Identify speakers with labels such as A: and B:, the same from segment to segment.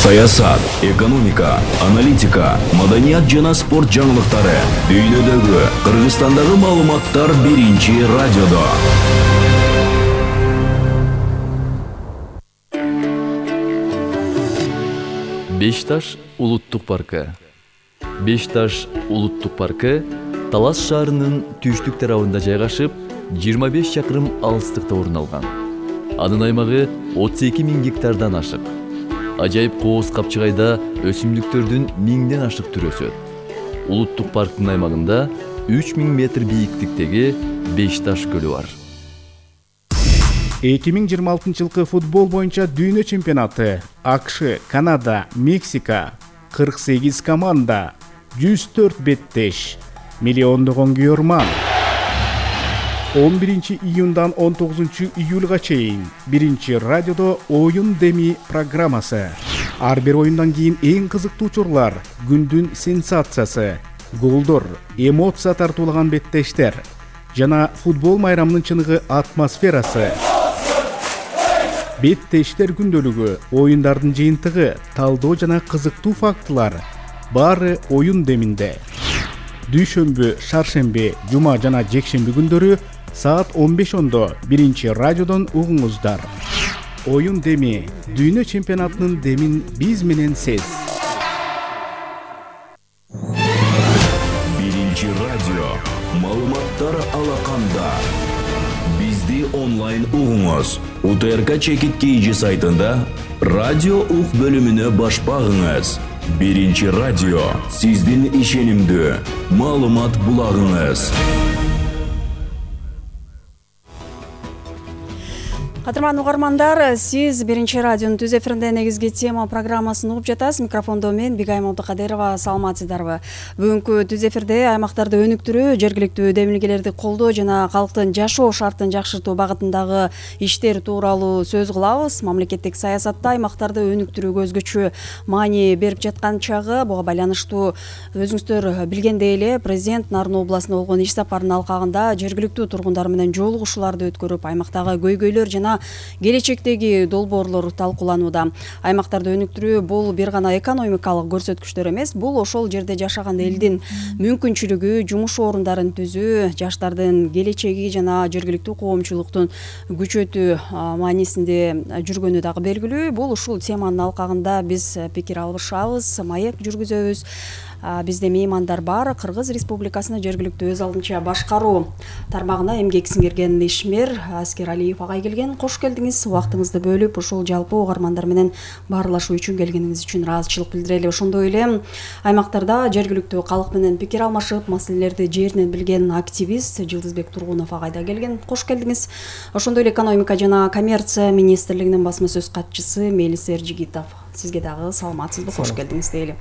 A: Саясат, экономика, аналитика, маданият жана спорт жаңылыктары, дүйнөдөгү, Кыргызстандагы маалыматтар биринчи радиодо.
B: Бешташ улуттук паркы. Бешташ улуттук паркы Талас шаарынын түштүк тарабында жайгашып, 25 чакырым алыстыкта орун алган. Анын аймагы 32.000 гектардан ашык. Ажайып кооз капчыгайда өсүмдүктөрдүн 1000ден ашык түрү өсөт. Улуттук парктын аймагында 3000 метр бийиктиктеги Бешташ көлү бар.
C: 2026 жылкы футбол боюнча дүйнө чемпионаты. АКШ, Канада, Мексика, 48 команда, 104 беттеш, миллиондогон күйөрман. 11 июндан 19 июлга чейин биринчи радиодо оюн деми программасы. Ар бир оюндан кийин эң кызыктуу учурлар, күндүн сенсациясы, голдор, эмоция тартуулаган беттештер жана футбол майрамынын чыныгы атмосферасы. Беттештер күндөлүгү, оюндардын жыйынтыгы, талдоо жана кызыктуу фактылар баары оюн деминде. Дүйшөмбү, шаршемби, жума жана жекшемби күндөрү саат 15:00 биринчи радиодон угуңуздар. Оюн деми, дүйнө чемпионатынын демин биз менен сез.
A: Биринчи радио, маалыматтар алаканда. Бизди онлайн угуңуз. УТРК Чекит KG сайтында радио ук бөлүмүнө баш багыңыз. Биринчи радио, сиздин ишенимдүү маалымат булагыңыз.
D: Кадырман угармандар, сиз биринчи радионун түз эфиринде негизги тема программасын угуп жатасыз. Микрофондо мен Бигайым Абдыкадырова, саламатсыздарбы? Бүгүнкү түз эфирде аймактарды өнүктүрүү, жергиликтүү демилгелерди колдоо жана калктын жашоо шартын жакшыртуу багытындагы иштер тууралуу сөз кылабыз. Мамлекеттик саясатта аймактарды өнүктүрүүгө өзгөчө маани берип жаткан чагы. Буга байланыштуу өзүңүздөр билгендей эле президент Нарын областына болгон иш сапарынын алкагында жергиликтүү тургундар менен жолугушууларды өткөрүп, аймактагы көйгөйлөр жана келечектеги долбоорлор талкууланууда. Аймактарды өнүктүрүү бул бир гана экономикалык көрсөткүчтөр эмес, бул ошол жерде жашаган элдин мүмкүнчүлүгү, жумуш орундарын түзүү, жаштардын келечеги жана жергиликтүү коомчулуктун күчөтүү маанисинде жүргөнү дагы белгилүү. Бул ушул теманын алкагында биз пикир алышабыз, маек жүргүзөбүз. Бизде меймандар бар. Кыргыз Республикасынын жергиликтүү өз алдынча башкаруу тармагына эмгек сиңирген ишмер Аскералиев агай келген. Кош келдиңиз. Убактыңызды бөлүп, ушул жалпы угармандар менен баарлашуу үчүн келгениңиз үчүн ыраазычылык билдирели. Ошондой эле аймактарда жергиликтүү калк менен пикир алмашып, маселелерди жеринен билген активист Жылдызбек Тургунов агай да келген. Кош келдиңиз. Ошондой эле экономика жана коммерция министрлигинин басма сөз катчысы Мелис Эржигитов. Сизге дагы саламатсызбы? Кош келдиңиз дейли.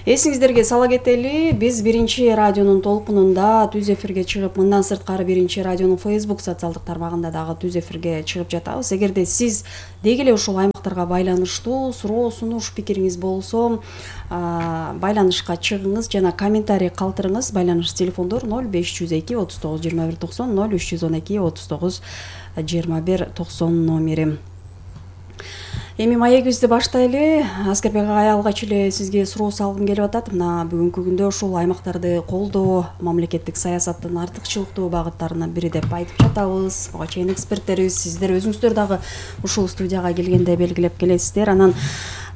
D: Эсиңиздерге сала кетели, биз биринчи радионун толкунунда түз эфирге чыгып, мындан сырткары биринчи радионун Facebook социалдык тармагында дагы түз эфирге чыгып жатабыз. Эгерде сиз деги эле ушул аймактарга байланыштуу суроо, сунуш, пикириңиз болсо, байланышка чыгыңыз жана комментарий калтырыңыз. Байланыш телефондор 0502 39 21 90, 0312 39 21 90 номери. Эми маегибизди баштайлы. Аскербек агай, алгач эле сизге суроо салгым келип атат. Мына бүгүнкү күндө ушул аймактарды колдоо мамлекеттик саясаттын артыкчылыктуу багыттарынын бири деп айтып жатабыз. Буга чейин эксперттерибиз, сиздер өзүңүздөр дагы ушул студияга келгенде белгилеп келесиздер. Анан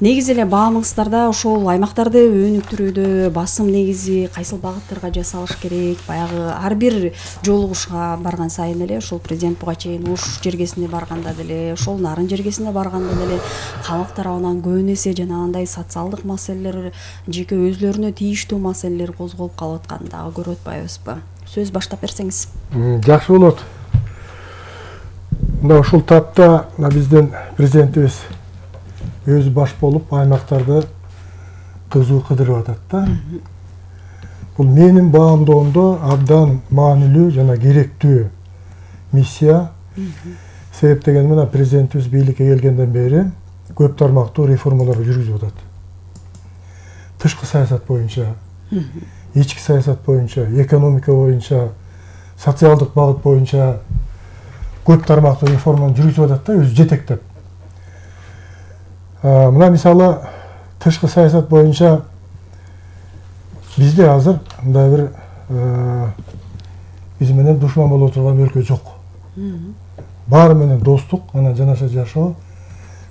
D: негизи эле баамыңыздарда ошол аймактарды өнүктүрүүдө басым негизи кайсыл багыттарга жасалыш керек? Баягы ар бир жолугушууга барган сайын эле ошол президент буга чейин Ош жергесине барганда деле, ошол Нарын жергесине барганда деле калк тарабынан көбүн эсе жанагындай социалдык маселелер, жеке өзлөрүнө тийиштүү маселелер козголуп калып атканын дагы көрүп атпайбызбы? Сөз баштап берсеңиз.
E: Жакшы болот. Мына ушул тапта биздин президентибиз өзү баш болуп аймактарды кызуу кыдырып атат да. Бул менин баамдоомдо абдан маанилүү жана керектүү миссия. Себеп деген мына президентибиз бийликке келгенден бери көп тармактуу реформаларды жүргүзүп атат. Тышкы саясат боюнча, ички саясат боюнча, экономика боюнча, социалдык багыт боюнча көп тармактуу реформаны жүргүзүп атат да, өзү жетектеп. Мына мисалы тышкы саясат боюнча бизде азыр мындай бир биз менен душман боло турган өлкө жок. Баары менен достук, анан жанаша жашоо,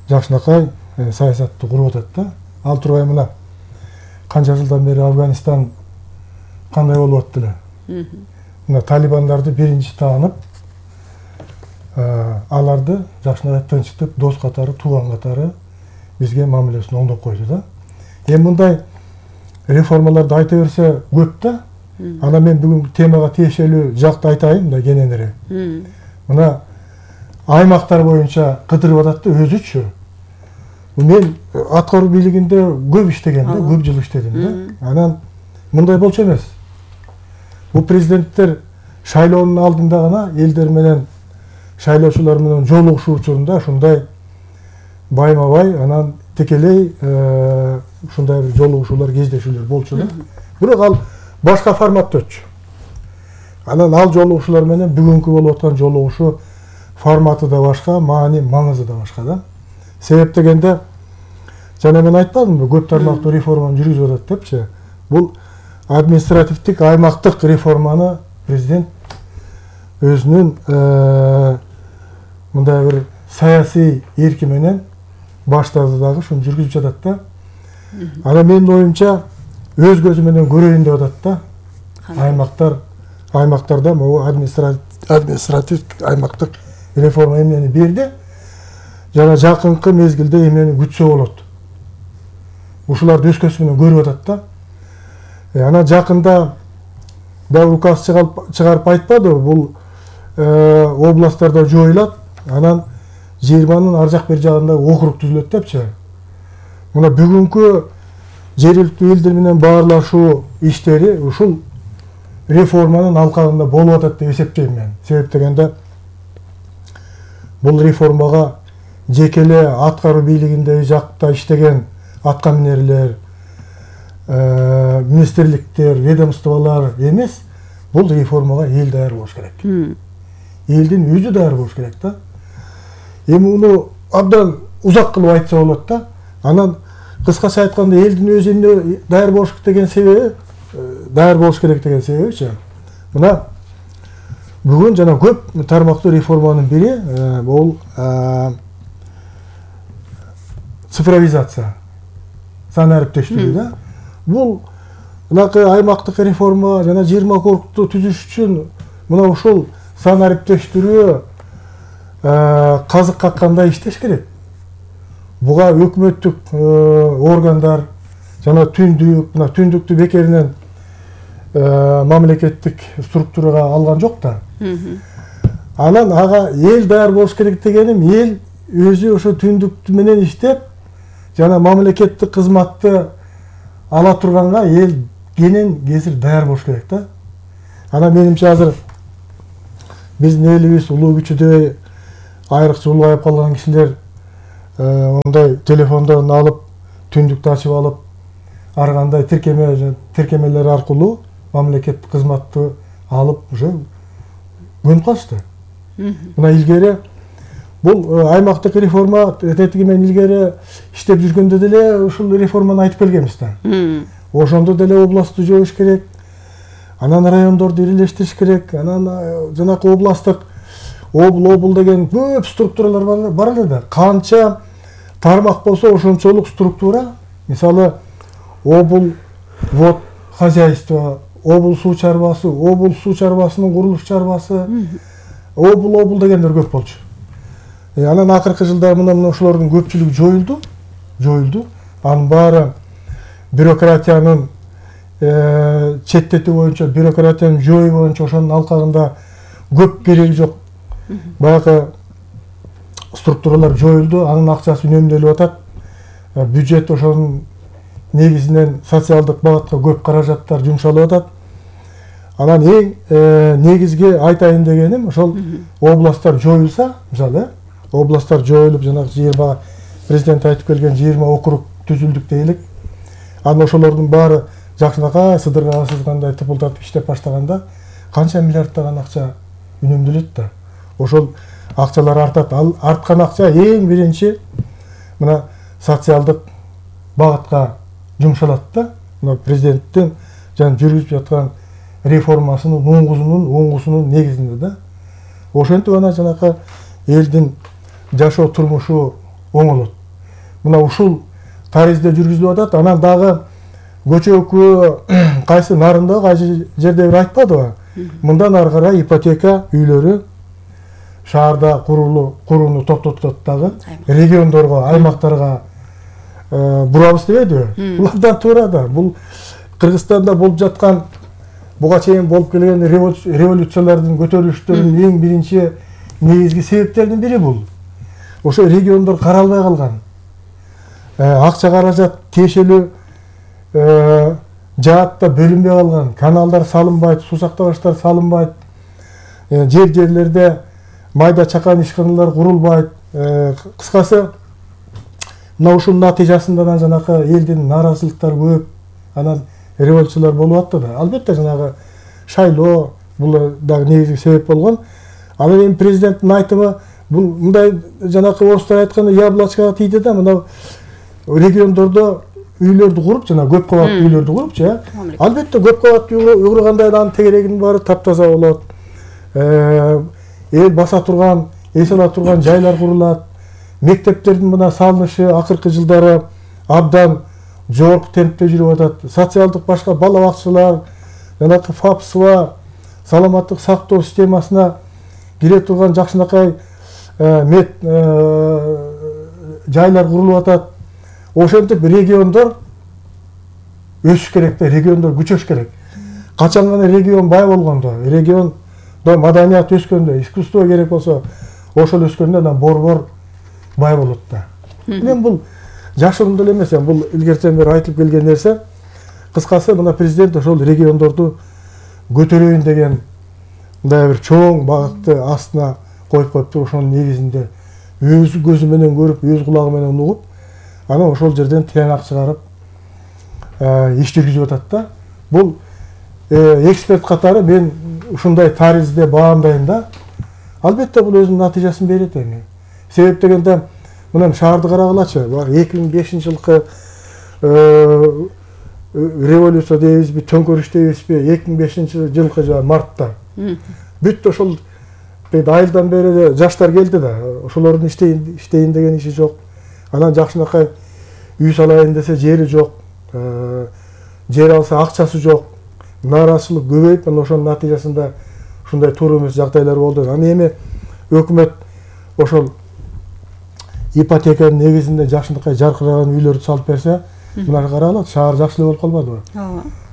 E: жакшынакай саясатты куруп атат да. Ал турбай мына канча жылдан бери Афганистан кандай болуп атты эле. Мына талибандарды биринчи таанып, аларды жакшынакай тынчтып, дос катары, тууган катары бизге мамилесин оңдоп койду да. Эми мындай реформаларды айта берсе көп да. Ана мен бүгүнкү темага тиешелүү жакты айтайын да кененирээк. Мына аймактар боюнча кыдырып атат да өзүчү. Мен аткаруу бийлигинде көп иштеген да, көп жыл иштедим да. Анан мындай болчу эмес. Бул президенттер шайлоонун алдында гана элдер менен шайлоочулар менен жолугушуу учурунда ушундай байма-бай анан текелей ушундай бир жолугушуулар, кездешүүлөр болчу да. Бирок ал башка форматта өтчү. Анан ал жолугушуулар менен бүгүнкү болуп аткан жолугушуу форматы да башка, маани, маңызы да башка да. Себеп дегенде жана мен айтпадымбы, көп тармактуу реформаны жүргүзүп атат депчи. Бул административдик аймактык реформаны президент өзүнүн мындай бир саясий эрки менен баштады дагы, ушуну жүргүзүп жатат да. Анан менин оюмча өз көзү менен көрөйүн деп атат да. Аймактарда могу административдик аймактык реформа эмнени берди. Жана жакынкы мезгилде эмнени күтсө болот. Ушуларды өз көзү менен көрүп атат да. Анан жакында да указ чыгарып айтпады, бул областтарда жоюлат, анан 20-нын ар жак бер жагында округ түзүлөт депчи. Мына бүгүнкү жергиликтүү элдер менен баарлашуу иштери ушул реформанын алкагында болуп атат деп эсептейм мен. Себеп дегенде бул реформага жекеле аткаруу бийлигиндеги жакта иштеген аткаминерлер, министрликтер, ведомстволор эмес, бул реформага эл даяр болуш керек. Элдин өзү даяр болуш керек да. Эми муну абдан узак кылып айтса болот да. Анан кыскача айтканда элдин өзү эмне даяр болуш деген себеби, даяр болуш керек деген себебичи. Мына бүгүн жана көп тармактуу реформанын бири бул цифровизация, сан ариптештирүү да. Бул мынакы аймактык реформа жана 20 округду түзүш үчүн мына ушул сан ариптештирүү казык каккандай иштеш керек. Буга өкмөттүк органдар жана мына түндүктү бекеринен мамлекеттик структурага алган жок да. Анан ага эл даяр болуш керек дегеним, эл өзү ошо түндүктү менен иштеп жана мамлекеттик кызматты ала турганга эл кенен кесир даяр болуш керек да. Анан менимче азыр биздин элибиз улуу күчүдөй айрыкча улгайып калган кишилер ондай телефондон алып, түндүктү ачып алып, ар кандай тиркемелер аркылуу мамлекеттик кызматты алып уже көнүп калышты. Мына илгери бул аймактык реформа тетиги менен илгери иштеп жүргөндө деле ушул реформаны айтып келгенбиз да. Ошондо деле областты жоюш керек, анан райондорду ирилештириш керек, анан жанакы областтык обл деген көп структуралар бар эле да. Канча тармак болсо ошончолук структура, мисалы обл вод хозяйство, обл суу чарбасы, обл суу чарбасынын курулуш чарбасы, обл дегендер көп болчу. Анан акыркы жылдары мына ошолордун көпчүлүгү жоюлду. Анын баары бюрократиянын четтетүү боюнча, бюрократиянын жоюу боюнча ошонун алкагында көп кереги жок. Баягы структуралар жоюлду, анын акчасы үнөмдөлүп атат. Бюджет ошонун негизинен социалдык багытка көп каражаттар жумшалып атат. Анан эң негизги айтайын дегеним, ошол областтар жоюлса, мисалы, областтар жоюлуп, жанагы 20 президент айтып келген 20 округ түзүлдүк дейли. Анан ошолордун баары жакшынакай сыдырга сызгандай тыпылдатып иштеп баштаганда канча миллиарддаган акча үнөмдөлөт да. Ошол акчалар артат. Ал арткан акча эң биринчи мына социалдык багытка жумшалат да. Мына президенттин жана жүргүзүп жаткан реформасынын оңгусунун негизинде да. Ошентип ана жанакы элдин жашоо турмушу оңолот. Мына ушул таризде жүргүзүлүп атат. Анан дагы көчөкү кайсы нарында кайсы жерде бир айтпадыбы? Мындан ары карай ипотека үйлөрү шаарда курууну токтотот дагы региондорго, аймактарга бурабыз дебейдиби? Булардан туура да. Бул Кыргызстанда болуп жаткан буга чейин болуп келген революциялардын, көтөрүлүштөрдүн эң биринчи негизги себептеринин бири бул. Ошо региондор каралбай калган. Акча каражат тиешелүү жаатта бөлүнбөй калган. Каналдар салынбайт, суу сактагычтар салынбайт. Жерлерде майда чакан ишканалар курулбайт. Кыскасы мына ушунун натыйжасында жанакы элдин нааразычылыктары көп. Анан революциялар болуп атты да. Албетте жанагы шайлоо бул дагы негизги себеп болгон. Анан эми президенттин айтымы бул мындай жанакы орустар айтканда яблочкага тийди да. Мына региондордо үйлөрдү куруп, жана көп кабаттуу үйлөрдү курупчу, албетте көп кабаттуу үй курганда анын тегерегинин баары таптаза болот. Эл баса турган, эс ала турган жайлар курулат. Мектептердин мына салынышы акыркы жылдары абдан жогорку темпте жүрүп атат. Социалдык башка бала бакчалар, жанакы ФАПСва, саламаттык сактоо системасына кире турган жакшынакай жайлар курулуп атат. Ошентип региондор өсүш керек да, региондор күчөш керек. Качан гана регион бай болгондо, региондо маданият өскөндө, искусство керек болсо, ошол өскөндө анан борбор бай болот да. Мен бул жашыруун деле эмес, бул илгертен бери айтылып келген нерсе. Кыскасы мына президент ошол региондорду көтөрөйүн деген мындай бир чоң багытты астына коюп коюпту. Ошонун негизинде өз көзү менен көрүп, өз кулагы менен угуп, анан ошол жерден тыянак чыгарып иш жүргүзүп атат да. Бул эксперт катары мен ушундай таризде баамдайм да. Албетте бул өзүнүн натыйжасын берет эми. Себеп дегенде мына шаарды карагылачы. 2005-жылкы революция дейбизби, төңкөрүш дейбизби, 2005-жылкы мартта. Бүт ошол айылдан бери жаштар келди да. Ошолордун иштейин деген иши жок. Анан жакшынакай үй салайын десе жери жок. Жер алса акчасы жок. Нааразычылык көбөйүп, анан ошонун натыйжасында ушундай туура эмес жагдайлар болду. Анан эми өкмөт ошол ипотеканын негизинде жакшынакай жаркыраган үйлөрдү салып берсе, мына карагыла, шаар жакшы эле болуп калбадыбы?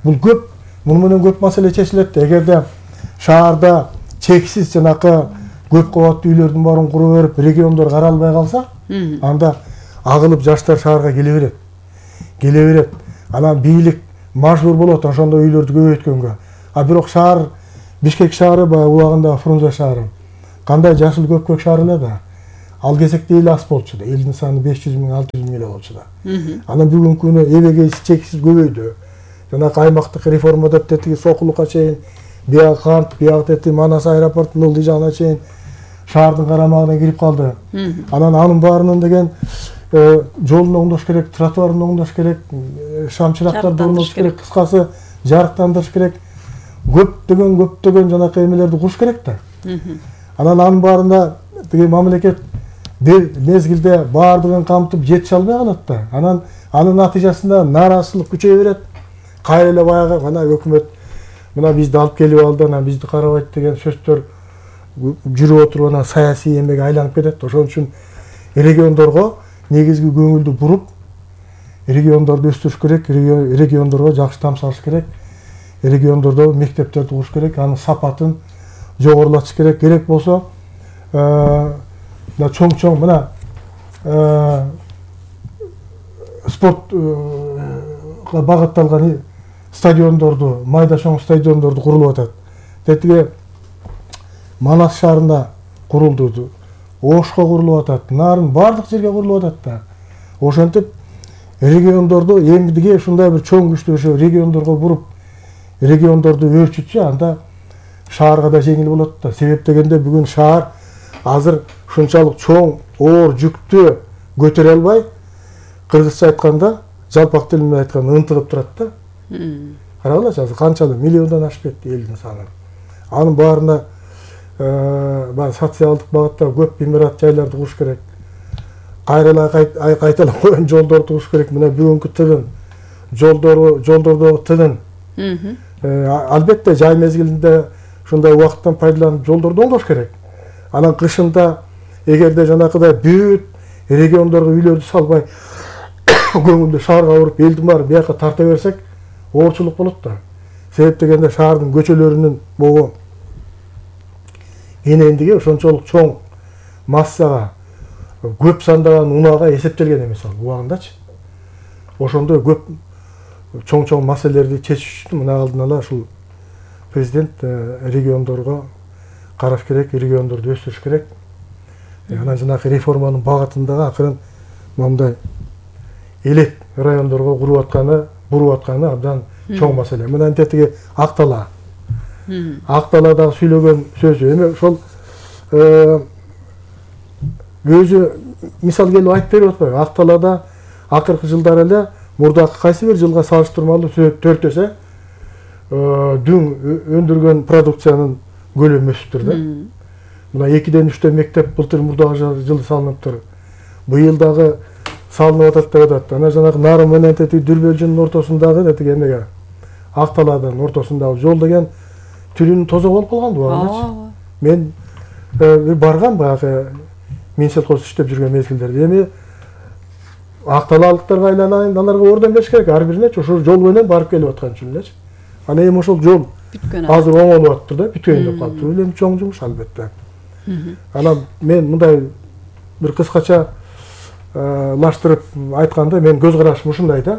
E: Бул көп, муну менен көп маселе чечилет. Эгерде шаарда чексиз жанакы көп кабаттуу үйлөрдүн баарын куруп берип, региондор каралбай калса, анда агылып жаштар шаарга келе берет. Анан бийлик мажбур болот ошондой үйлөрдү көбөйткөнгө. А бирок шаар, Бишкек шаары баягы убагында Фрунзе шаары кандай жашыл көпкөк шаар эле да. Ал кезекте эл аз болчу да. Элдин саны 500 миң, 600 миң эле болчу да. Анан бүгүнкү күнү эбеге чексиз көбөйдү. Жанакы аймактык реформа деп тетиги Сокулукка чейин, бияга Кант, бияга тети Манас аэропортунун ылдый жагына чейин шаардын карамагына кирип калды. Анан анын баарынан деген жолун оңдош керек, тротуарын оңдош керек, шамчырактарды орнотуш керек, кыскасы жарыктандырыш керек. Көптөгөн жанакы эмелерди куруш керек да. Анан анын баарына деген мамлекет мезгилде баардыгын камтып жетише албай калат да. Анын натыйжасында нааразычылык күчөйө берет. Кайра эле баягы мына өкмөт мына бизди алып келип алды, анан бизди карабайт деген сөздөр жүрүп отуруп анан саясий эмеге айланып кетет. Ошон үчүн региондорго негизги көңүлдү буруп, региондорду өстүрүш керек, региондорго жакшы там салыш керек. Региондордо мектептерди куруш керек, анын сапатын жогорулатыш керек. Керек болсо чоң мына спортко багытталган стадиондорду, майда чоң стадиондорду курулуп атат. Тетиги Манас шаарында курулду, Ошко курулуп атат, нарын бардык жерге курулуп атат да. Ошентип региондорду эмгиге ушундай бир чоң күчтүү региондорго буруп, региондорду өөрчүтсө, анда шаарга да жеңил болот да. Себеп дегенде бүгүн шаар азыр ушунчалык чоң оор жүктү көтөрө албай, кыргызча айтканда, жалпак тил менен айтканда ынтыгып турат да. Карагылачы, азыр канчалык миллиондон ашып кетти элдин саны. Анын баарына баягы социалдык багытта көп имарат жайларды куруш керек. Кайталап койгон жолдорду куруш керек. Мына бүгүнкү тыгын жолдордогу тыгын. Албетте жай мезгилинде ушундай убакыттан пайдаланып жолдорду оңдош керек. Анан кышында эгерде жанакыдай бүт региондорго үйлөрдү салбай көңүлдү шаарга уруп элдин баары бияка тарта берсек оорчулук болот да. Себеп дегенде шаардын көчөлөрүнүн могу энендиги ошончолук чоң массага, көп сандаган унаага эсептелген эмес ал убагындачы. Ошондой көп чоң маселелерди чечиш үчүн мына алдын ала ушул президент региондорго караш керек, региондорду өстүрүш керек. Анан жанагы реформанын багытындагы акырын мондай элек райондорго буруп атканы абдан чоң маселе. Мына тетиги Актала. Акталадагы сүйлөгөн сөзү эми ошол өзү мисал келип айтып берип атпайбы? Акталада акыркы жылдары эле мурдакы кайсы бир жылга салыштырмалуу 4 эсе дүң өндүргөн продукциянын көлөмү өсүптүр да. Мына 2-ден 3 мектеп былтыр мурдагы жылы салыныптыр. Быйыл дагы салынып атат деп атат. Анан жанагы Нарын менен Дүрбөлжүнүн ортосундагы детиги эмеге Акталадын ортосундагы жол деген түрүнүн тозо болуп калган убагындачы. Мен бир баргам баягы Минселхоз иштеп жүргөн мезгилдерде. Эми Акталалыктарга айланайын, аларга ордон бериш керек. Ар биринечи ошол жол менен барып келип аткан үчүн элечи. Анан эми ошол жол азыр оңолуп атыптыр да, бүтөйүн деп калыптыр. Эми чоң жумуш албетте. Анан мен мындай бир кыскача лаштырып айтканда мен көз карашым ушундай да.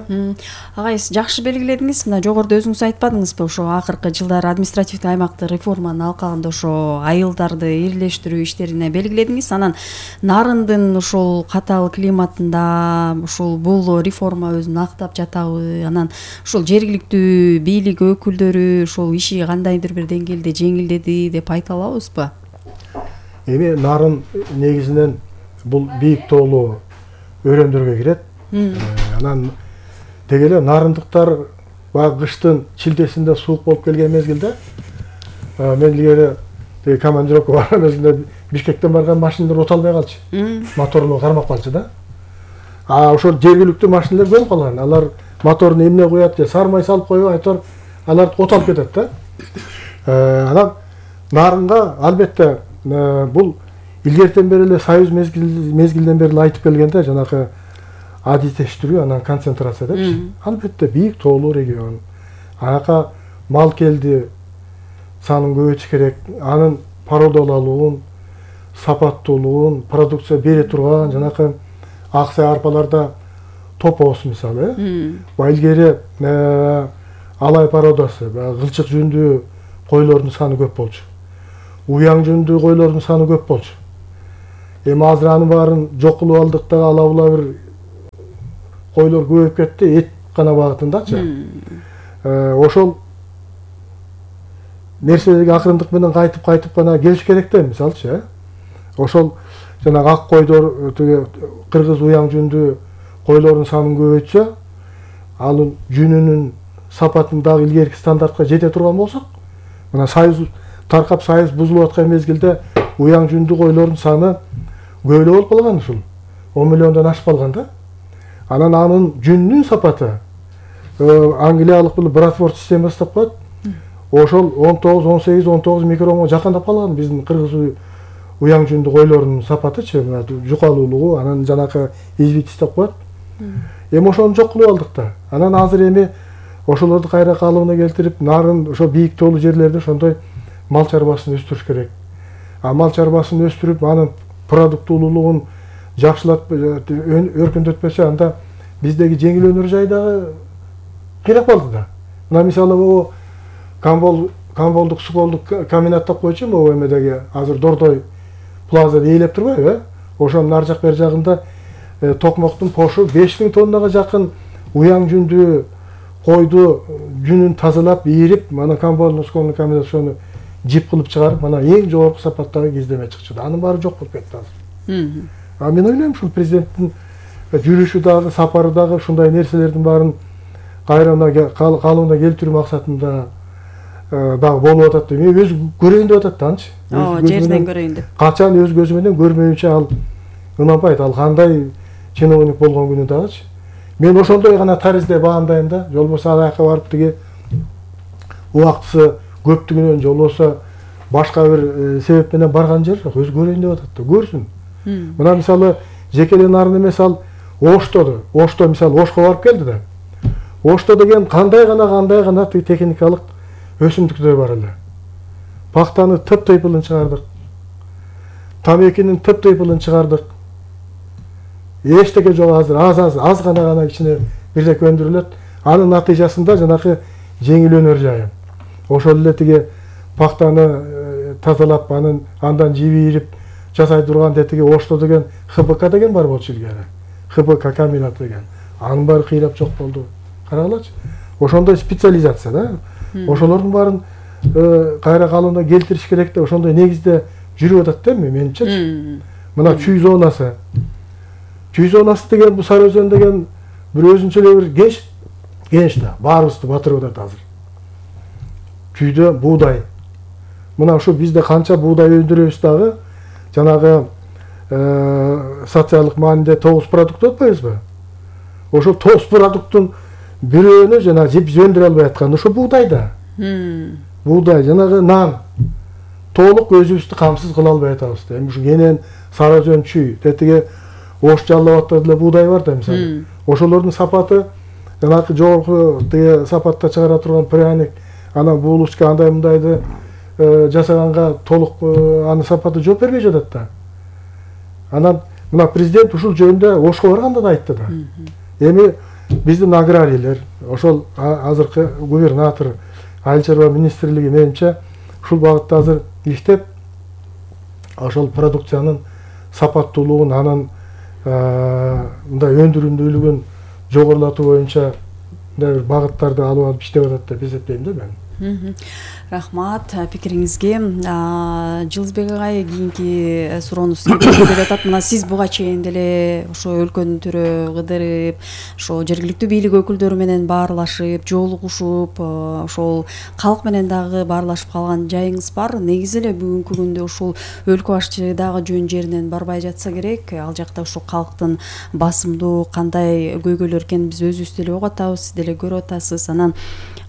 D: Агайыз жакшы белгиледиңиз. Мына жогоруда өзүңүз айтпадыңызбы, ошо акыркы жылдары административдик аймакты реформаны алкагында ошо айылдарды ирилештирүү иштерине белгиледиңиз. Анан Нарындын ушул катаал климатында ушул бул реформа өзүн актап жатабы? Анан ушул жергиликтүү бийлик өкүлдөрү ушул иши кандайдыр бир деңгээлде жеңилдеди деп айта алабызбы?
E: Эми Нарын негизинен бул бийик тоолуу өрөөндөргө кирет. Анан деги эле нарындыктар баягы кыштын шилдесинде суук болуп келген мезгилде мен илгери командировка барган мезгилде Бишкектен барган машиналар өтө албай калчу. Моторуну кармап калчу да. Ошол жергиликтүү машиналар көнүп калган. Алар моторуну эмне коет же сармай салып коюп айтор, алар оталып кетет да. Анан Нарынга албетте бул илгертен бери эле союз мезгилден бери айтып келгенде жанагы адистештирүү, анан концентрация депчи. Албетте бийик тоолуу регион. Ага мал келди санын көбөйтүш керек. Анын породалуулугун, сапаттуулугун, продукция бере турган жанакы аксай арпаларда топоосу мисалы. Илгери алай породасы, кылчык жүндүү койлордун саны көп болчу. Уяң жүндүү койлордун саны көп болчу. Эми азыр анын баарын жок кылып алдык да, ала-була бир койлор көбөйүп кетти, эт гана багытындачы. Ошол нерселерге акырындык менен кайтып гана келиш керек да, мисалчы. Ошол жанагы ак койдор, кыргыз уяң жүндүү койлордун санын көбөйтсө, анын жүнүнүн сапатын дагы илгерки стандартка жете турган болсок, мына союз таркап союз бузулуп аткан мезгилде уяң жүндүү койлордун саны көбөлө болуп калган, ушул 10 миллиондон ашып калган да. Анан анын жүнүнүн сапаты англиялык бул Братфорд системасы деп коет. Ошол 19, 18, 19 микронго жакындап калган биздин кыргыз уяң жүндүү койлордун сапатычы, жукалуулугу, анан жанакы извитис деп коет. Эми ошону жок кылып алдык да. Анан азыр эми ошолорду кайра калыбына келтирип, Нарын ошо бийик тоолуу жерлерде ошондой мал чарбасын өстүрүш керек. Мал чарбасын өстүрүп, анын продуктуулугун жакшылап өркүндөтпөсө, анда биздеги жеңил өнөр жай дагы кыйрап калды да. Мына мисалы могу Камболдук Суколдук комбинат деп койчу, могу эмедеги азыр Дордой плазада ээлеп турбайбы? Ошонун ар жак бер жагында токмоктун пошу 5000 тоннага жакын уяң жүндүү койду жүнүн тазалап, ийирип, мана Камболдук Суколдук комбинат ошону жип кылып чыгарып, мана эң жогорку сапаттагы кездеме чыкчу. Анын баары жок болуп кетти азыр. Мен ойлойм ушул президенттин жүрүшү дагы, сапары дагы ушундай нерселердин баарын кайра калыбына келтирүү максатында дагы болуп атат деп мен өзү көрөйүн деп атат да анчы.
D: Жерден көрөйүн деп.
E: Качан өз көзү менен көрмөйүнчө ал ынанбайт. Ал кандай чиновник болгон күнү дагычы. Мен ошондой гана таризде баамдайм да. Жолбосо ал жака барып тиги убактысы көптүгүнөн жолбосо башка бир себеп менен барган жер жок. Өзү көрөйүн деп атат да. Көрсүн. Мына мисалы жекелен нарын эмес ал Ошто мисалы Ошко барып келди да. Ошто деген кандай гана техникалык өсүмдүктөр бар эле. Пактаны тыйпылын чыгардык. Тамекинин тыйпылын чыгардык. Эчтеке жок азыр аз гана ичине бирдеке өндүрүлөт. Анын натыйжасында жанакы жеңилөнөр жайы. Ошол эле тиги пактаны тазалап андан жибирип жасай турган тиги Ошто деген ХБК деген бар болчу илгери. ХБК комбинат деген. Анын баары кыйрап жок болду. Карагылачы. Ошондой специализация да. Ошолордун баарын кайра калыбына келтириш керек деп ошондой негизде жүрүп атат да менимче. Мына чүй зонасы деген бул Сары Өзөн деген бир өзүнчө эле бир генч да. Баарыбызды батырып атат азыр. Чүйдө буудай. Мына ушу бизде канча буудай өндүрөбүз дагы жанагы социалдык мааниде 9 продукт атпайбызбы? Ошо 9 продукттун бирөөнү жана биз өндүрө албай аткан ошо буудай да. Буудай жанагы нан толук өзүбүздү камсыз кыла албай атабыз да. Эми ушу кенен Сары Өзөн чүй, тетиги Ош Жалал Абадта деле буудай бар да мисалы. Ошолордун сапаты жанагы жогорку тиги сапатта чыгара турган пряник, анан булочка андай мындайды жасаганга толук анын сапаты жооп бербей жатат да. Анан мына президент ушул жөнүндө Ошко барганда да айтты да. Эми биздин аграрийлер, ошол азыркы губернатор, айыл чарба министрлиги менимче ушул багытта азыр иштеп, ошол продукциянын сапаттуулугун, анын мындай өндүрүмдүүлүгүн жогорулатуу боюнча мындай бир багыттарды алып иштеп атат деп эсептейм да мен.
D: Рахмат пикириңизге. Жылызбек агай кийинки суроону деп атат. Мына сиз буга чейин деле ошо өлкөнүн төрө кыдырып, ошо жергиликтүү бийлик өкүлдөрү менен баарлашып, жолугушуп, ошол калк менен дагы баарлашып калган жайыңыз бар. Негизи эле бүгүнкү күндө ушул өлкө башчы дагы жөн жеринен барбай жатса керек. Ал жакта ошо калктын басымдуу кандай көйгөйлөр экенин биз өзүбүз деле угуп атабыз, сиз деле көрүп атасыз. Анан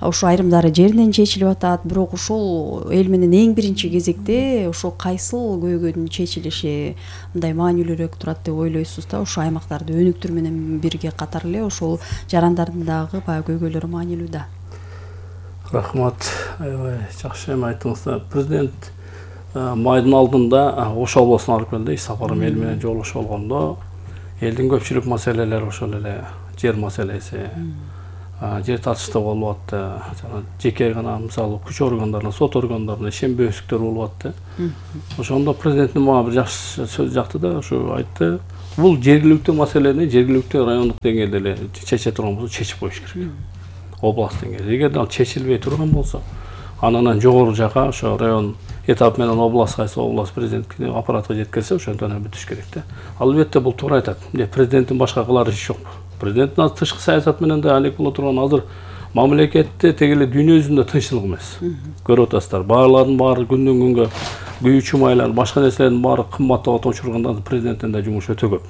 D: ошо айрымдары жеринен чечилип атат, бирок ушул эл менен эң биринчи кезекте ошо кайсыл көйгөйдүн чечилиши мындай маанилүүрөөк турат деп ойлойсуз да? Ошо аймактарды өнүктүрүү менен бирге катар эле ошол жарандардын дагы баягы көйгөйлөрү маанилүү да.
F: Рахмат, аябай жакшы эме айттыңыздар. Президент майдын алдында Ош областына алып келди, иш сапары эл менен жолугушуп болгондо элдин көпчүлүк маселелери ошол эле жер маселеси, жер тартыштуу болуп атты. Жеке гана мисалы күч органдарына, сот органдарына ишенбөөсүзлүктөр болуп атты. Ошондо президенттин мага бир жакшы сөз жакты да, ошо айтты. Бул жергиликтүү маселени жергиликтүү райондук деңгээлде эле чече турган болсо чечип коюш керек. Област деңгээлде. Эгерде ал чечилбей турган болсо, анан жогору жака ошо район этап менен област кайсы област президенттик аппаратка жеткирсе, ошондон бүтүш керек да. Албетте бул туура айтат. Президенттин башка кылар иши жок. Президенттин азыр тышкы саясат менен да алек боло турган азыр мамлекетте тегеле дүйнө жүзүндө тынччылык эмес. Көрүп атасыздар, баарлардын баары күндөн күнгө күйүү чумайлар, башка нерселердин баары кымбаттап отурганда президенттин да жумушу өтө көп.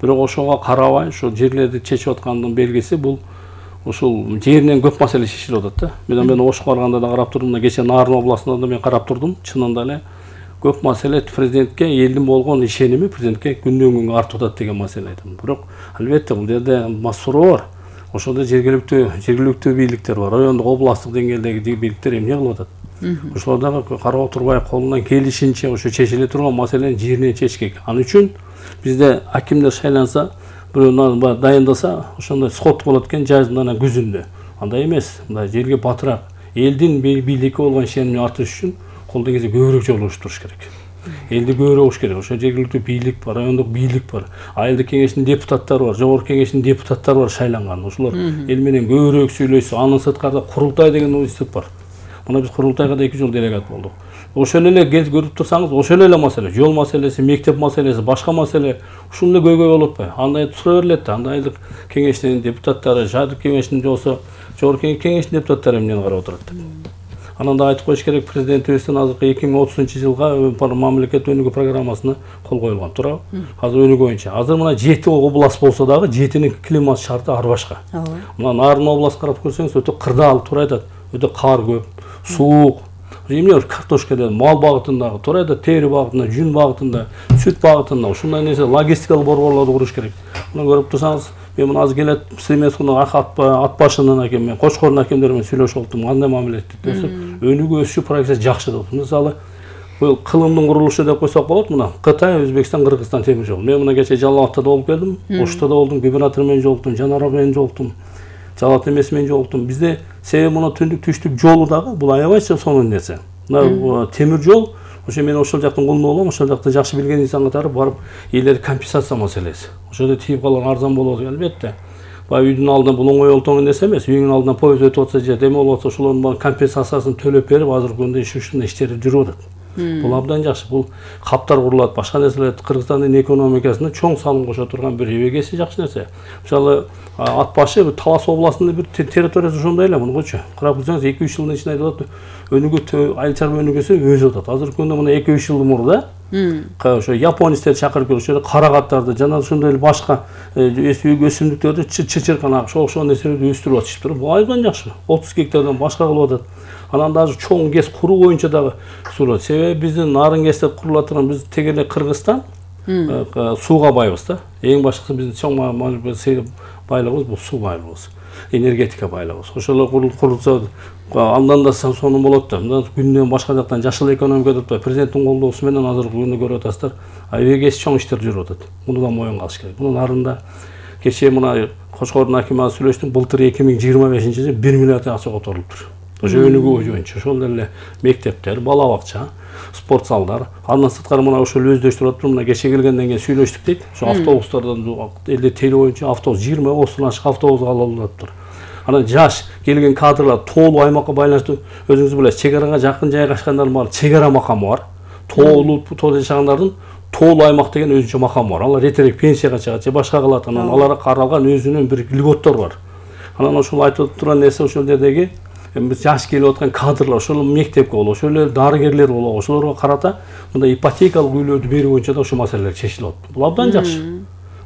F: Бирок ошого карабай, ошол жерлерди чечип аткандын белгиси бул ушул жеринен көп маселе чечилип атат да. Мен Ошко барганда да карап турдум, кечээ Нарын областында да мен карап турдум. Чынында эле көп маселе президентке элдин болгон ишеними президентке күндөн күнгө артып атат деген маселе айтам. Бирок албетте бул жерде суроо бар. Ошондо жергиликтүү бийликтер бар, райондук, областтык деңгээлдеги бийликтер эмне кылып атат? Ошолор дагы карап отурбай колунан келишинче ошо чечиле турган маселени жеринен чечиш керек. Ал үчүн бизде акимдер шайланса, бирөө дайындаса, ошондой сход болот экен жазында, күзүндө. Андай эмес, мындай жерге батыраак элдин бийликке болгон ишенимин артырыш үчүн колдон келсе көбүрөөк жолугушуп туруш керек. Элди көбүрөөк уш керек. Ошо жергиликтүү бийлик бар, райондук бийлик бар, айылдык кеңештин депутаттары бар, жогорку кеңештин депутаттары бар шайланган. Ошолор эл менен көбүрөөк сүйлөшсө, анын сырткарда курултай деген институт бар. Мына биз курултайга да 2 жыл делегат болдук. ошол эле көрүп турсаңыз, ошол эле маселе, жол маселеси, мектеп маселеси, башка маселе ушул эле көйгөй болуп атпайбы? Андай тура берилет да, андайлык кеңештин депутаттары, шаардык кеңештин болсо, жогорку кеңештин депутаттары эмнени карап отурат деп. Анан да айтып коюш керек, президентибиздин азыркы 2030-жылга мамлекет өнүгүү программасына кол коюлган, туурабы? Азыр өнүгүү боюнча. Азыр мына 7 област болсо дагы 7-нин климат шарты ар башка. Мына Нарын област карап көрсөңүз, өтө кырдаал, туура айтат. Өтө кар көп, суук. Эмне картошка деп, мал багытындагы, туура айтат, тери багытында, жүн багытында, сүт багытында ушундай нерсе логистикалык борборлорду куруш керек. Мына көрүп турсаңыз, мен мына азыр келет Семесунун ат башынын акем, мен Кочкордун акемдери менен сүйлөшүп оттум, кандай мамиле этти. Өнүгүү өсүү прогресси жакшы деп. Мисалы, бул кылымдын курулушу деп койсок болот, мына Кытай, Өзбекстан, Кыргызстан темир жол. Мен мына кече Жалал Абадта болуп келдим, Ошто да болдум, губернатор менен жолуктум, Жанар менен жолуктум, Жалат эмес менен жолуктум. Бизде себеби мына түндүк түштүк жолу дагы бул аябай сонун нерсе. Мына темир жол, ошо мен ошол жактын кулуну болом, ошол жакты жакшы билген инсан катары барып, элдер компенсация маселеси. Ошодо тийип калган арзан болот, албетте. Баягы үйдүн алдынан бул оңой олтоңдон нерсе эмес, үйүңдүн алдынан поезд өтүп атса же эме болуп атса, ошолордун компенсациясын төлөп берип, азыркы күндө ушундай иштер жүрүп атат. Бул абдан жакшы. Бул каптар курулат, башка нерселер Кыргызстандын экономикасына чоң салым кошо турган бир эбегеси жакшы нерсе. Мисалы, ат башы Талас областынын бир территориясы ошондой эле, мунучу. Карап көрсөңүз, 2-3 жылдын ичинде айтып атат, өнүгүү, айыл чарба өнүгүүсү өсүп атат. Азыркы күндө мына 2-3 жыл мурда ошо японецтерди чакырып келип, ошо карагаттарды жана ошондой эле башка өсүмдүктөрдү чычырканак, ошол нерселерди өстүрүп атышыптыр. Бул абдан жакшы. 30 гектардан башка кылып атат. Анан дагы чоң ГЭС куруу боюнча дагы сурат. Себеби биздин Нарын ГЭСте курула турган биз теге эле Кыргызстан сууга байбыз да. Эң башкысы биздин чоң байлыгыбыз бул суу байлыгыбыз, энергетика байлыгыбыз. Ошол курулса андан да сонун болот да. Мына күндөн башка жактан жашыл экономика деп президенттин колдоосу менен азыркы күндө көрүп атасыздар. Эбегеси чоң иштер жүрүп атат. Муну да моюнга алыш керек. Муну Нарында кечээ мына Кочкордун акими сүйлөштүм. Былтыр 2025-жылы 1 миллиард акча которулуптур. Ошо өнүгүү боюнча, ошол эле мектептер, бала бакча, спорт залдар. Андан сырткары мына ошол өздөштүрүп атып, мына кече келгенден кийин сүйлөштүк дейт. Ошо автобустардан элде тели боюнча автобус 20-30 ашык автобус алынып. Анан жаш келген кадрлар тоолуу аймакка байланыштуу, өзүңүз билесиз, чек арага жакын жайгашкандардын баары чек ара макамы бар. Тоолуу жашагандардын тоолуу аймак деген өзүнчө макамы бар. Алар эртерээк пенсияга чыгат же башка кылат. Анан аларга каралган өзүнүн бир льготтор бар. Анан ошол айтып турган нерсе ошол жердеги биз жаш келип аткан кадрлар, ошол мектепке болобу, ошол эле дарыгерлер болобу, ошолорго карата мындай ипотекалык үйлөрдү берүү боюнча да ошол маселелер чечилип атат. Бул абдан жакшы.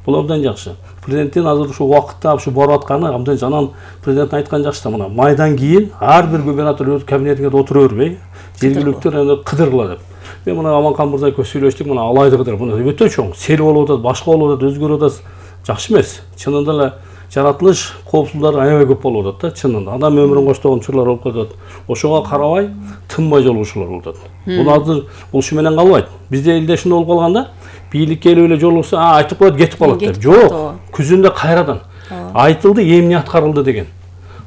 F: Бул абдан жакшы. Президенттин азыр ушул убакытта ушу барып атканы абдан жанан президент айткан жакшы да, мына майдан кийин ар бир губернатор өз кабинетине отура бербей, жергиликтер кыдыргыла деп. Мен мына Аманкан мырза экөөбүз сүйлөштүк, мына алайды кыдыр, мына өтө чоң, сел болуп атат, башка болуп атат, өзгөрүп атат. Жакшы эмес. Чынында эле жаратылыш коопсуздуктары аябай көп болуп атат да, чынында. Адам өмүрүн коштогон учурлар болуп калат. Ошого карабай тынбай жолугушуулар болуп атат. Бул азыр ушу менен калбайт. Бизде элде ушундай болуп калганда, бийликке келип эле жолугса, айтып коет, кетип калат деп. Жок, күзүндө кайрадан айтылды, эмне аткарылды деген.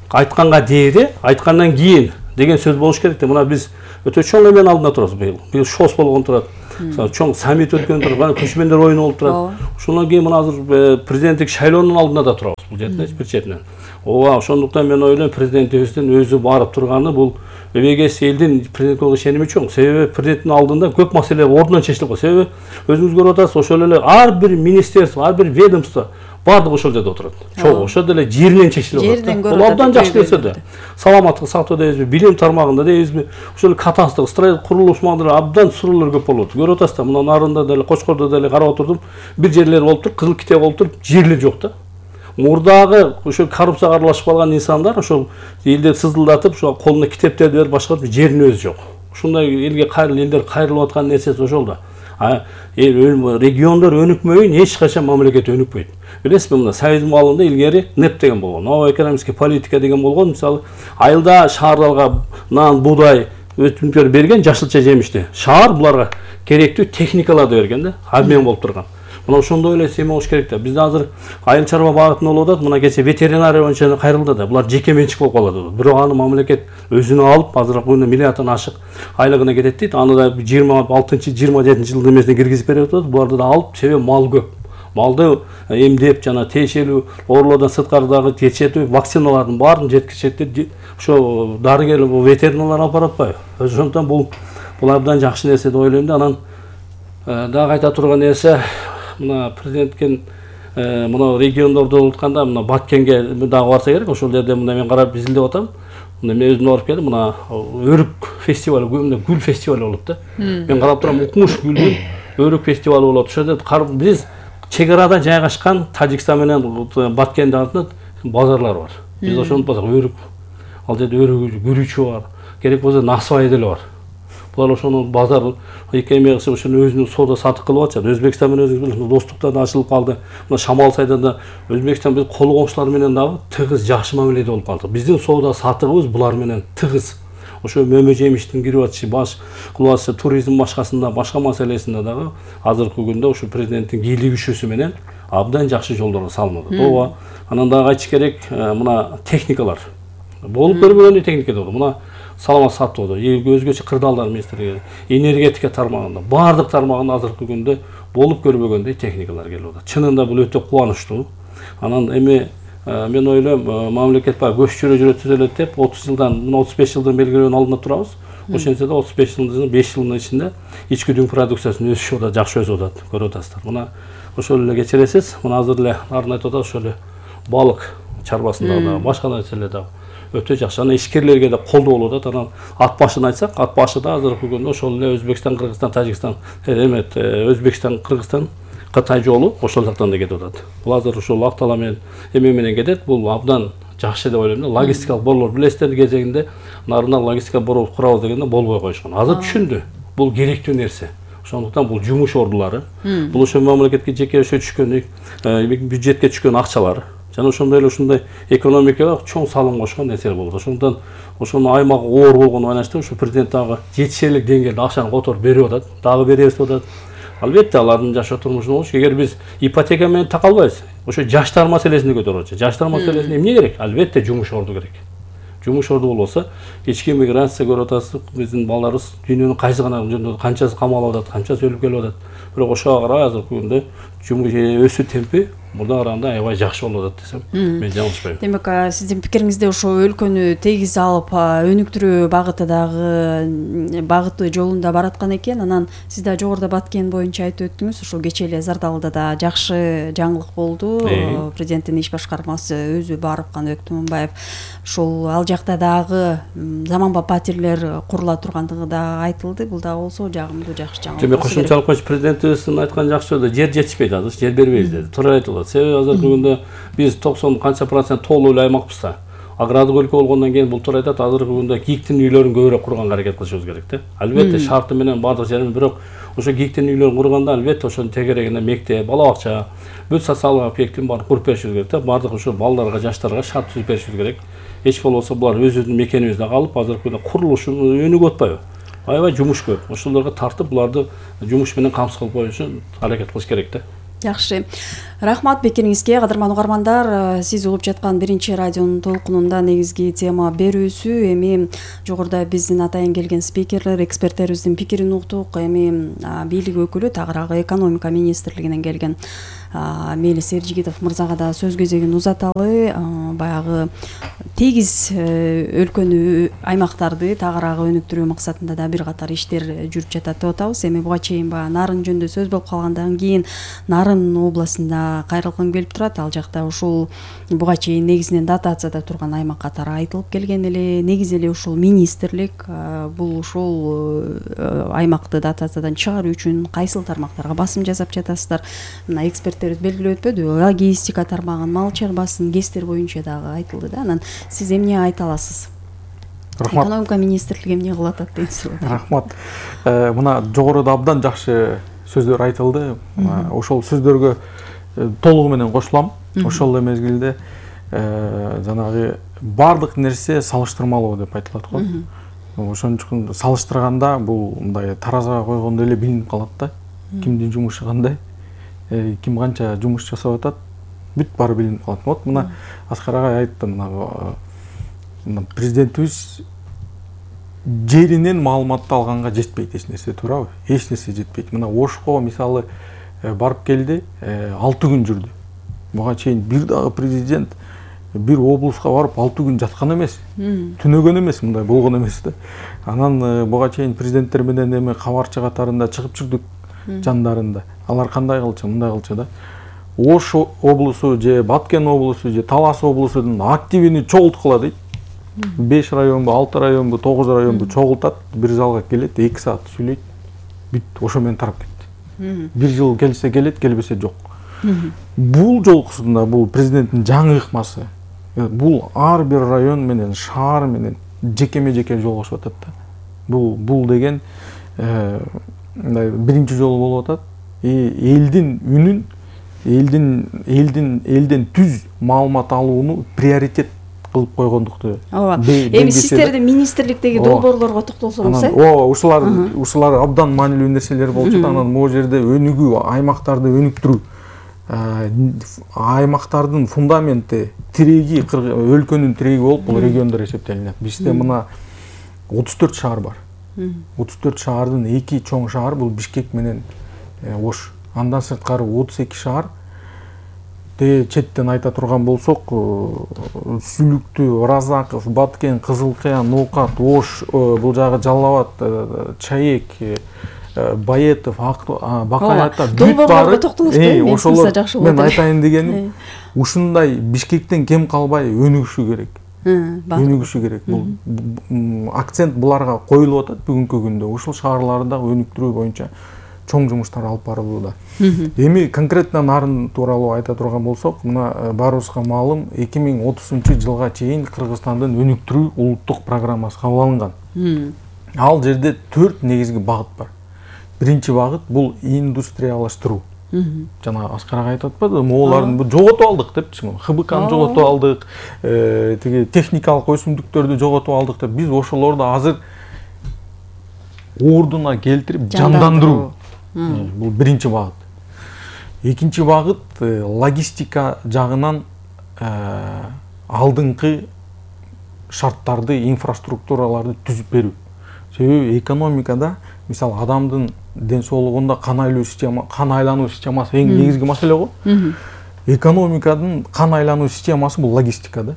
F: Айтканга дээде, айткандан кийин деген сөз болуш керек да. Мына биз өтө чоң эмненин алдында турабыз быйыл. Быйыл ШОС болгон турат. Чоң саммит өткөн турат, көчмөндөр оюну болуп турат. Ошондон кийин мына азыр президенттик шайлоонун алдында да турабыз бул жерде, бир четинен. Ооба, ошондуктан мен ойлойм, президентибиздин өзү барып турганы бул эбегес элдин президентке ишеними чоң. Себеби президенттин алдында көп маселе ордунан чечилип калат. Себеби өзүңүз көрүп атасыз, ошол эле ар бир министерство, ар бир ведомство бардыгы ошол жерде отурат. Чоң, ошол деле жеринен чечилип атат. Бул абдан жакшы нерсе да. Саламаттык сактоо дейбизби, билим тармагында дейбизби, ошол катастык, строительство, курулуш маалында абдан суроолор көп болот. Көрүп атасыз да, мына Нарында деле, Кочкордо деле карап отурдум. Бир жерлер болуптур, кызыл китеп болуптур, жерлер жок да. Мурдагы ошол коррупцияга аралашып калган инсандар ошол элди сызылдатып, ошо колуна китептерди берип башка жеринин өзү жок. Ушундай элге элдер кайрылып аткан нерсеси ошол да. Региондор өнүкмөйүн эч качан мамлекет өнүкпөйт. Билесизби, мына Союздун маалында илгери НЭП деген болгон, новая экономическая политика деген болгон. Мисалы, айылда шаарларга нан, буудай өтүмдөр берген, жашылча жемишти. Шаар буларга керектүү техникаларды берген да, обмен болуп турган. Мына ошондой эле эме болуш керек да. Бизде азыр айыл чарба багытында болуп атат. Мына кече ветеринария боюнча кайрылды да. Булар жеке менчик болуп калат. Бирок аны мамлекет өзүнө алып, азыркы күндө миллиарддан ашык айлыгына кетет дейт. Аны да 26-27-жылдын эмесине киргизип берип атат. Буларды да алып, себеби мал көп. Малды эмдеп жана тиешелүү оорулардан сырткары жетиштүү вакциналардын баарын жеткиришет. Ошо дарыгер ветеринарлар алып баратпайбы? Ошондуктан бул бул абдан жакшы нерсе деп ойлойм да. Анан дагы айта турган нерсе, мына президенткен мына региондордо утканда мына Баткенге дагы барса керек. Ошол жерде мына мен карап изилдеп атам. Мына мен өзүм барып келдим. Мына өрүк фестивалы, гүл фестивалы болот да. Мен карап турам, укмуш гүлдүн өрүк фестивалы болот. Ошол жерде биз чек арада жайгашкан Тажикстан менен Баткенде артында базарлар бар. Биз ошону унутпасак, өрүк, ал жерде өрүк, күрүчү бар, керек болсо насыбай деле бар. Булар ошону базар эки эме кылып ошону өзүнүн соода сатык кылып атышат. Өзбекстан менен өзүбүз достуктар да ачылып калды. Мына Шамал-Сайда да Өзбекстан биз кол коңшулар менен дагы тыгыз жакшы мамиледе болуп калдык. Биздин соода сатыгыбыз булар менен тыгыз. Ошо мөмө жемиштин кирип атышы, баш кылып атышы, туризм башкасында, башка маселесинде дагы азыркы күндө ошо президенттин бийлик күчүсү менен абдан жакшы жолдорго салынып атат. Ооба. Анан дагы айтыш керек, мына техникалар. Болуп көрбөгөндөй техника болду. Мына саламат сатып атат. Өзгөчө кырдаалдар министрлиги, энергетика тармагында, баардык тармагында азыркы күндө болуп көрбөгөндөй техникалар келип атат. Чынында бул өтө кубанычтуу. Анан эми мен ойлойм, мамлекет баягы көч жүрө элек деп 30 жылдан, 35 жылдын белгилөөнүн алдында турабыз. Ошентсе да 35 жылдын 5 жылдын ичинде ички дүң продукциясынын өсүшү да жакшы өсүп атат, көрүп атасыздар. Мына ошол эле кечиресиз. Мына азыр эле арын айтып атат, ошол эле балык чарбасында да, башка нерселер да өтө жакшы. Анан ишкерлерге да колдоо болуп атат. Анан ат башын айтсак, ат башы да азыркы күндө ошол эле Өзбекстан, Кыргызстан, Тажикстан, Өзбекстан, Кыргызстан, Кытай жолу ошол жактан да кетип атат. Бул азыр ошол Актала менен эме менен кетет. Бул абдан жакшы деп ойлойм да. Логистикалык борлор билесиздер, кезегинде нарында логистика борбор курабыз дегенде болбой койушкан. Азыр түшүндү. Бул керектүү нерсе. Ошондуктан бул жумуш ордулары, бул ошо мамлекетке жеке түшкөн, бюджетке түшкөн акчалар жана ошондой эле ушундай экономикага чоң салым кошкон нерсе болот. Ошондуктан ошонун аймагы оор болгону байланыштуу ушу президент дагы жетишерлик деңгээлде акчаны которуп берип атат, дагы беребиз деп атат. Албетте алардын жашоо турмушун болуш, эгер биз ипотека менен такалбайбыз, ошо жаштар маселесин көтөрүп атат. Жаштар маселесине эмне керек? Албетте жумуш орду керек. Жумуш орду болбосо, ички миграция көрүп атасыз, биздин балдарыбыз дүйнөнүн кайсы гана жөнүндө канчасы камалып атат, канчасы өлүп келип атат. Бирок ошого карай азыркы күндө жумуш өсүү темпи мурда караганда аябай жакшы болуп атат десем, мен жаңылышпайм.
D: Демек, сиздин пикириңизде ошо өлкөнү тегиз алып, өнүктүрүү багыты жолунда бараткан экен. Анан сиз да жогоруда Баткен боюнча айтып өттүңүз. Ошол кечээ эле Зардалыда да жакшы жаңылык болду. Президенттин иш башкармасы өзү барып, Каныбек Туманбаев ошол ал жакта дагы заманбап патирлер курула тургандыгы да айтылды. Бул да болсо жагымдуу, жакшы жаңылык.
F: Демек, кошумчалык коюш президентибиздин айткан жакшы сөзү, жер жетишпейт, азыр жер бербейбиз деди. Туура айтылат. Себеби азыркы күндө биз 90 канча процент тоолуу эле аймакпыз да. Агрардык өлкө болгондон кийин бул туура айтат, азыркы күндө гиктин үйлөрүн көбүрөөк курганга аракет кылышыбыз керек да. Албетте шарты менен бардык жерин, бирок ошо гиктин үйлөрүн курганда албетте ошонун тегерегинде мектеп, бала бакча, бүт социалдык объектин баарын куруп беришибиз керек да. Бардык ошо балдарга, жаштарга шарт түзүп беришибиз керек. Эч болбосо булар өзүбүздүн мекенибизде калып, азыркы күндө курулушу өнүгүп атпайбы? Аябай жумуш көп. Ошолорго тартып, буларды жумуш менен камсыз кылып коюш үчүн аракет кылыш керек да.
D: Жакшы. Рахмат пикириңизге, кадырман угармандар. Сиз угуп жаткан биринчи радионун толкунунда негизги тема берүүсү. Эми жогоруда биздин атайын келген спикерлер, эксперттерибиздин пикирин уктук. Эми бийлик өкүлү, тагыраагы экономика министрлигинен келген Мелис Эржигитов мырзага да сөз кезегин узаталы. Баягы тегиз өлкөнү, аймактарды тагыраагы өнүктүрүү максатында да бир катар иштер жүрүп жатат деп атабыз. Эми буга чейин Нарын жөнүндө сөз болуп калгандан кийин Нарын областында кайрылгым келип турат. Ал жакта ушул буга чейин негизинен дотацияда турган аймак катары айтылып келген эле. Негизи эле ушул министрлик бул ушул аймакты дотациядан чыгаруу үчүн кайсыл тармактарга басым жасап жатасыздар? Мына эксперттерибиз белгилеп өтпөдү, логистика тармагын, мал чарбасын, КЭСтер боюнча дагы айтылды да. Анан сиз эмне айта аласыз?
G: Рахмат.
D: Экономика министрлиги эмне кылып атат деген суроо.
G: Рахмат. Мына жогоруда абдан жакшы сөздөр айтылды. Ошол сөздөргө толугу менен кошулам. Ошол эле мезгилде жанагы бардык нерсе салыштырмалуу деп айтылат го. Ошон үчүн салыштырганда бул мындай таразага койгондой эле билинип калат да. Кимдин жумушу кандай, ким канча жумуш жасап атат, бүт баары билинип калат. Вот мына Аскар агай айтты, мына президентибиз жеринен маалыматты алганга жетпейт эч нерсе, туурабы? Эч нерсе жетпейт. Мына Ошко мисалы барып келди, 6 күн жүрдү. Буга чейин бир дагы президент бир облуска барып 6 күн жаткан эмес, түнөгөн эмес, мындай болгон эмес да. Анан буга чейин президенттер менен эме кабарчы катарында чыгып жүрдүк жандарында. Алар кандай кылчу, мындай кылчу да. Ош облусу же Баткен облусу же Талас облусунун активини чогулткула дейт. 5 районбу, 6 районбу, 9 районбу чогултат, бир залга келет, 2 саат сүйлөйт. Бүт, ошо менен тарап кетти. Бир жыл келсе келет, келбесе жок. Бул жолкусунда бул президенттин жаңы ыкмасы. Бул ар бир район менен, шаар менен жекеме-жеке жолугушуп атат да. Бул деген биринчи жолу болуп атат. Элдин үнүн, элден түз маалымат алууну приоритет кылып койгондукту.
D: Эми сиздердин министрликтеги долбоорлорго токтолсоңуз,
G: ушулар абдан маанилүү нерселер болчу. Анан могу жерде өнүгүү, аймактарды өнүктүрүү, аймактардын фундаменти, тиреги, өлкөнүн тиреги болуп бул региондор эсептелинет. Бизде мына 34 шаар бар. 34 шаардын 2 чоң шаар бул Бишкек менен Ош. Андан сырткары 32 шаар. Четтен айта турган болсок, Сүлүктүү, Разаков, Баткен, Кызылкая, Ноокат, Ош, бул жагы Жалал Абад, Чаек, Баетов, Бакаята бүт бары. Ошолор мен айтайын дегеним, ушундай Бишкектен кем калбай өнүгүшү керек. Өнүгүшү керек. Бул акцент буларга коюлуп атат бүгүнкү күндө. Ушул шаарларды өнүктүрүү боюнча чоң жумуштар алып барылууда. Эми конкретно нарын тууралуу айта турган болсок, мына баарыбызга маалым 2030-жылга чейин Кыргызстандын өнүктүрүү улуттук программасы кабыл алынган. Ал жерде 4 негизги багыт бар. Биринчи багыт бул индустриялаштыруу. Жана Аскар ага айтып атпады, моолардын бу жоготуп алдык депчи. ХБКны жоготуп алдык, тиги техникалык өсүмдүктөрдү жоготуп алдык деп, биз ошолорду азыр ордуна келтирип жандандыруу. Бул биринчи багыт. Экинчи багыт логистика жагынан алдыңкы шарттарды, инфраструктураларды түзүп берүү. Себеби экономикада, мисалы, адамдын ден соолугунда кан айлануу системасы эң негизги маселе го. Экономикадын кан айлануу системасы бул логистика да.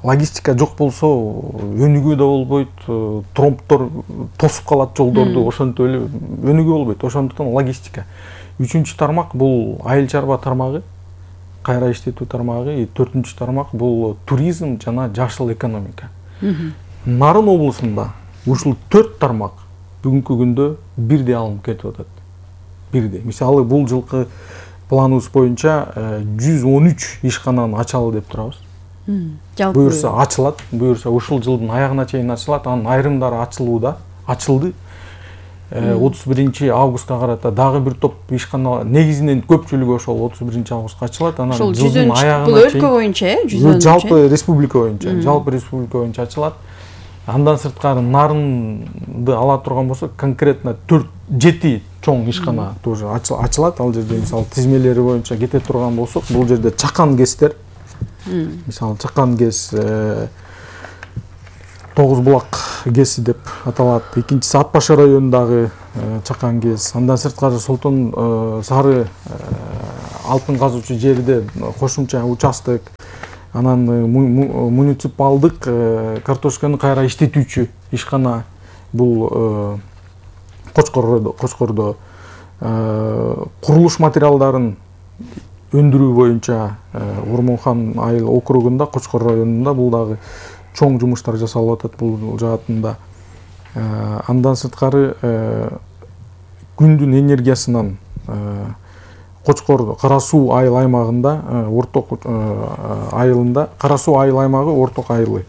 G: Логистика жок болсо өнүгүү да болбойт, тромптор тосуп калат жолдорду, ошентип эле өнүгүү болбойт. Ошондуктан логистика. Үчүнчү тармак бул айыл чарба тармагы, кайра иштетүү тармагы, 4-чү тармак бул туризм жана жашыл экономика. Нарын облусунда ушул 4 тармак бүгүнкү күндө бирдей алынып кетип атат. Бирдей. Мисалы, бул жылкы планыбыз боюнча 113 ишкананы ачалы деп турабыз. Буюрса ачылат, буюрса ушул жылдын аягына чейин ачылат, анын айрымдары ачылууда, ачылды. 31 августка карата дагы бир топ ишкана, негизинен көпчүлүгү ошол 31 августка ачылат. Анан жылдын аягына чейин бул
D: өлкө боюнча, 113
G: жалпы республика боюнча ачылат. Андан сырткары нарынды ала турган болсок, конкретно 4-7 чоң ишкана тоже ачылат. Ал жерде мисалы тизмелери боюнча кете турган болсок, бул жерде чакан кезтер, мисалы чакан кез, Тогуз булак кези деп аталат. Экинчиси Ат Башы районундагы чакан кез. Андан сырткары Солтон Сары алтын казуучу жерде кошумча участок. Анан муниципалдык картошканы кайра иштетүүчү ишкана бул Кочкордо курулуш материалдарын өндүрүү боюнча Ормонхан айыл округунда, Кочкор районунда бул дагы чоң жумуштар жасалып атат бул жаатында. Андан сырткары күндүн энергиясынан Кочкор Кара Суу айыл аймагында, орток айылында, Кара Суу айыл аймагы орток айылы.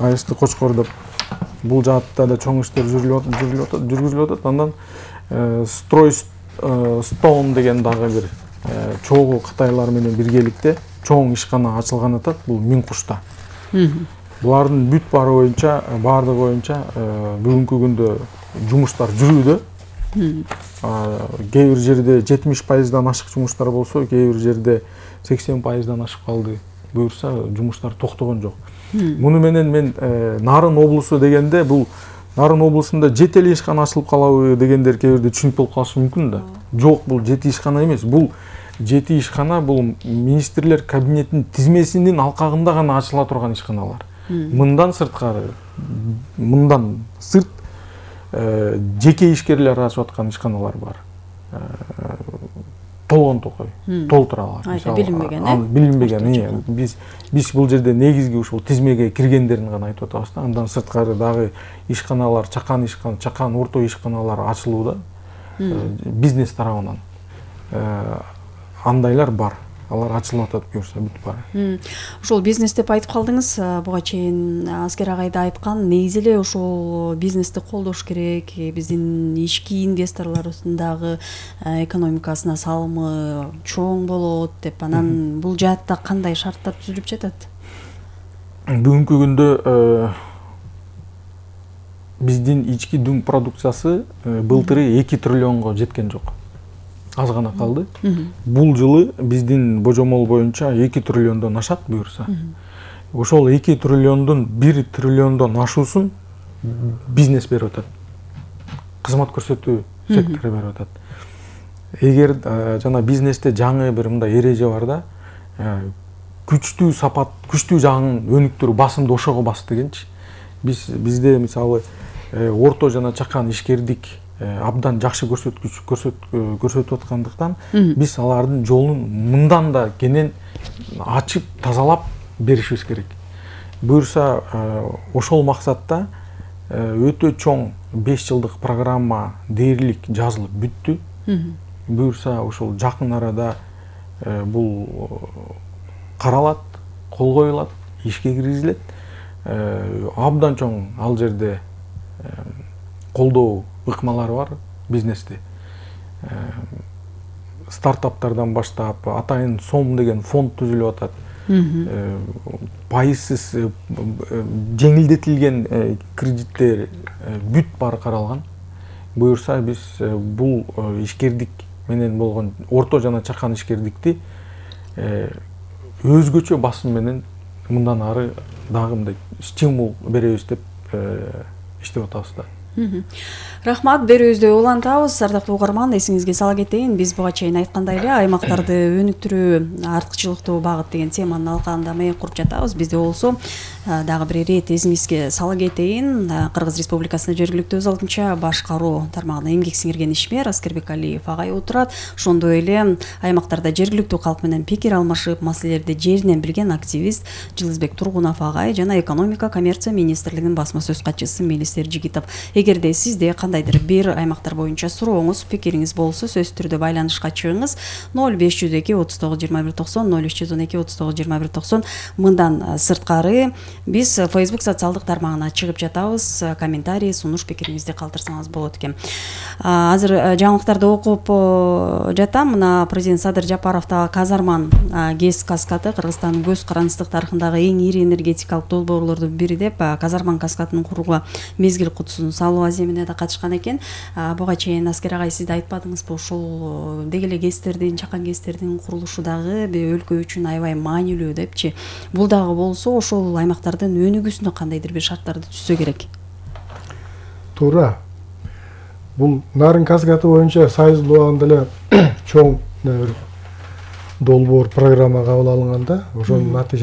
G: Айысты Кочкор деп бул жаатта да чоң иштер жүргүзүлүп атат. Андан Стройстоун деген дагы бир чогуу Кытайлар менен биргеликте чоң ишкана ачылган атат, бул Миңкушта. Булардын бүт баардыгы боюнча бүгүнкү күндө жумуштар жүрүүдө. Кээ бир жерде 70%дан ашык жумуштар болсо, кээ бир жерде 80%дан ашып калды. Буюрса жумуштар токтогон жок. Муну менен мен Нарын облусу дегенде, бул Нарын облусунда 7 ишкана ачылып калабы дегендер кээ бирде түшүнүп болуп калышы мүмкүн да. Жок, бул 7 ишкана эмес. Бул жети ишкана бул министрлер кабинетинин тизмесинин алкагында гана ачыла турган ишканалар. Мындан сырткары, мындан сырт жеке ишкерлер ачып аткан ишканалар бар. Толгон токой, толтура алат. Билинбеген. Биз бул жерде негизги ушул тизмеге киргендерин гана айтып атабыз да. Андан сырткары дагы ишканалар, чакан орто ишканалар ачылууда бизнес тарабынан. Андайлар бар. Алар ачылып атат, көрсө бүт бар.
D: Ошол бизнес деп айтып калдыңыз. Буга чейин Аскер агай да айткан, негизи эле ошол бизнести колдош керек. Биздин ички инвесторлорубуздун дагы экономикасына салымы чоң болот деп. Анан бул жаатта кандай шарттар түзүлүп жатат?
G: Бүгүнкү күндө биздин ички дүң продукциясы былтыры 2 триллионго жеткен жок. Аз гана калды. Бул жылы биздин божомол боюнча 2 триллиондон ашат буюрса. Ошол 2 триллиондун 1 триллиондон ашуусун бизнес берип атат. Кызмат көрсөтүү сектору берип атат. Эгер жана бизнесте жаңы бир мындай эреже бар да, күчтүү сапат, күчтүү жагын өнүктүрүү басымды ошого бас дегенчи. Бизде мисалы орто жана чакан ишкердик абдан жакшы көрсөтүп аткандыктан биз алардын жолун мындан да кенен ачып тазалап беришибиз керек. Буюрса ошол максатта өтө чоң 5 жылдык программа дээрлик жазылып бүттү. Буюрса ошол жакын арада бул каралат, кол коюлат, ишке киргизилет. Абдан чоң ал жерде колдоо ыкмалары бар бизнесте. Стартаптардан баштап атайын сом деген фонд түзүлүп атат. Пайызсыз жеңилдетилген кредиттер бүт баары каралган. Буюрса биз бул ишкердик менен болгон орто жана чакан ишкердикти өзгөчө басым менен мындан ары дагы мындай стимул беребиз деп иштеп атабыз да.
D: Рахмат, берүүбүздү улантабыз. Ардактуу угарман, эсиңизге сала кетейин, биз буга чейин айткандай эле аймактарды өнүктүрүү, артыкчылыктуу багыт деген теманын алкагында маек куруп жатабыз. Бизде болсо дагы бир ирет эсиңизге сала кетейин. Кыргыз Республикасынын жергиликтүү өз алдынча башкаруу тармагына эмгек сиңирген ишмер Аскербек Алиев агай отурат. Ошондой эле аймактарда жергиликтүү калк менен пикир алмашып, маселелерди жеринен билген активист Жылызбек Тургунов агай жана экономика коммерция министрлигинин басма сөз катчысы Мелис Эржигитов. Эгерде сизде кандайдыр бир аймактар боюнча сурооңуз, пикириңиз болсо, сөзсүз түрдө байланышка чыгыңыз. 0502 39 21 90 0312 39 21 90. Мындан сырткары биз Facebook социалдык тармагына чыгып жатабыз. Комментарий, сунуш, пикириңизди калтырсаңыз болот экен. Азыр жаңылыктарды окуп жатам. Мына президент Садыр Жапаровдагы Казарман ГЭС каскады Кыргызстандын көз карандысыздык тарыхындагы эң ири энергетикалык долбоорлордун бири деп Казарман каскадын курууга мезгил кутусун салуу аземине да катышкан экен. Буга чейин Аскер агай сиз да айтпадыңызбы, ушул деги эле ГЭСтердин, чакан ГЭСтердин курулушу дагы өлкө үчүн аябай маанилүү депчи. Бул дагы болсо ошол аймактардын өнүгүүсүнө кандайдыр бир шарттарды түзсө керек.
E: Туура. Бул Нарын каскады боюнча сайыздуу убагында эле чоң долбоор программа кабыл алынганда, ошонун натыйжасы